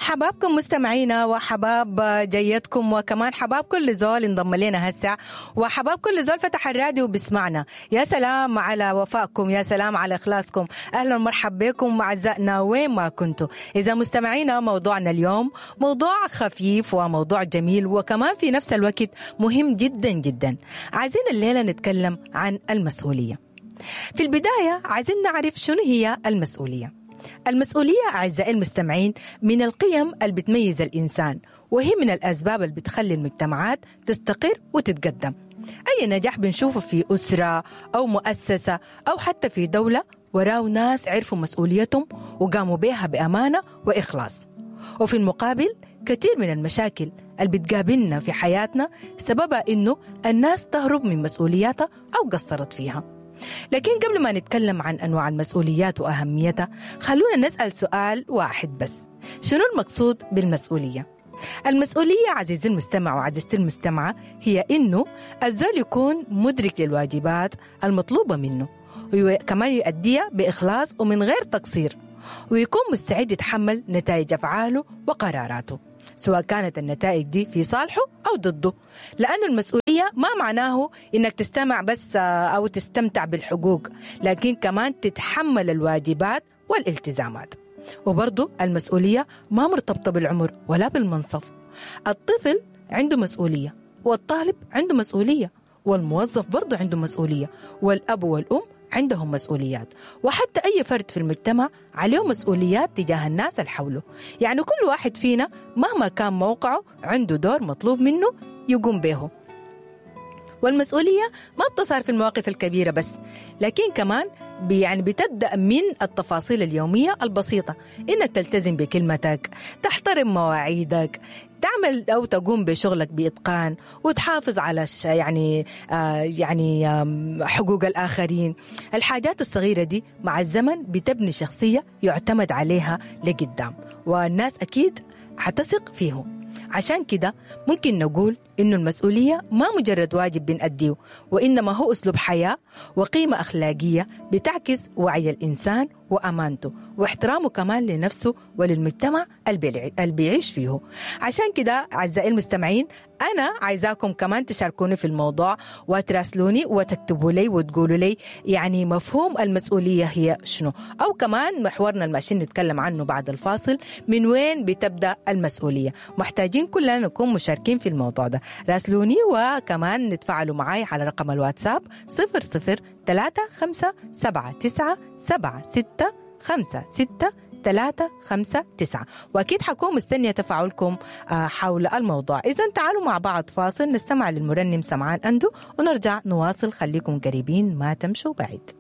حبابكم مستمعينا وحباب جيتكم، وكمان حباب كل زول انضم لنا هسه، وحباب كل زول فتح الراديو وبسمعنا. يا سلام على وفائكم، يا سلام على إخلاصكم. أهلا ومرحبا بكم أعزائنا وين ما كنتوا. إذا مستمعينا موضوعنا اليوم موضوع خفيف وموضوع جميل، وكمان في نفس الوقت مهم جدا جدا. عايزين الليلة نتكلم عن المسؤولية. في البداية عايزين نعرف شنو هي المسؤولية. المسؤولية أعزائي المستمعين من القيم اللي بتميز الإنسان، وهي من الأسباب اللي بتخلي المجتمعات تستقر وتتقدم. أي نجاح بنشوفه في أسرة أو مؤسسة أو حتى في دولة وراه ناس عرفوا مسؤوليتهم وقاموا بها بأمانة وإخلاص. وفي المقابل كثير من المشاكل اللي بتقابلنا في حياتنا سببها إنه الناس تهرب من مسؤولياتها أو قصرت فيها. لكن قبل ما نتكلم عن أنواع المسؤوليات وأهميتها، خلونا نسأل سؤال واحد بس: شنو المقصود بالمسؤولية؟ المسؤولية عزيزي المستمع وعزيزتي المستمعة هي إنه الزول يكون مدرك للواجبات المطلوبة منه، وكمان يؤديها بإخلاص ومن غير تقصير، ويكون مستعد يتحمل نتائج أفعاله وقراراته، سواء كانت النتائج دي في صالحه أو ضده. لأن المسؤولية ما معناه إنك تستمع بس أو تستمتع بالحقوق، لكن كمان تتحمل الواجبات والالتزامات. وبرضو المسؤولية ما مرتبطة بالعمر ولا بالمنصب. الطفل عنده مسؤولية، والطالب عنده مسؤولية، والموظف برضو عنده مسؤولية، والأب والأم عندهم مسؤوليات، وحتى أي فرد في المجتمع عليه مسؤوليات تجاه الناس اللي حوله. يعني كل واحد فينا مهما كان موقعه عنده دور مطلوب منه يقوم به. والمسؤولية ما بتظهر في المواقف الكبيرة بس، لكن كمان يعني بتبدأ من التفاصيل اليومية البسيطة: إنك تلتزم بكلمتك، تحترم مواعيدك، تعمل أو تقوم بشغلك بإتقان، وتحافظ على يعني حقوق الآخرين. الحاجات الصغيرة دي مع الزمن بتبني شخصية يعتمد عليها لقدام، والناس أكيد حتثق فيه. عشان كده ممكن نقول إنه المسؤولية ما مجرد واجب بنأديه، وإنما هو أسلوب حياة وقيمة أخلاقية بتعكس وعي الإنسان وأمانته واحترامه كمان لنفسه وللمجتمع اللي بيعيش فيه. عشان كده أعزائي المستمعين أنا عايزاكم كمان تشاركوني في الموضوع وتراسلوني وتكتبوا لي وتقولوا لي يعني مفهوم المسؤولية هي شنو، أو كمان محورنا الماشيين نتكلم عنه بعد الفاصل، من وين بتبدأ المسؤولية. محتاجين كلنا نكون مشاركين في الموضوع ده. راسلوني وكمان نتفاعلوا معي على رقم الواتساب 00 3 5 7 9 7 6 5 6 3 5 9. وأكيد حكون مستنية تفاعلكم حول الموضوع. إذا تعالوا مع بعض فاصل نستمع للمرنم سمعان أندو ونرجع نواصل. خليكم قريبين ما تمشوا بعيد.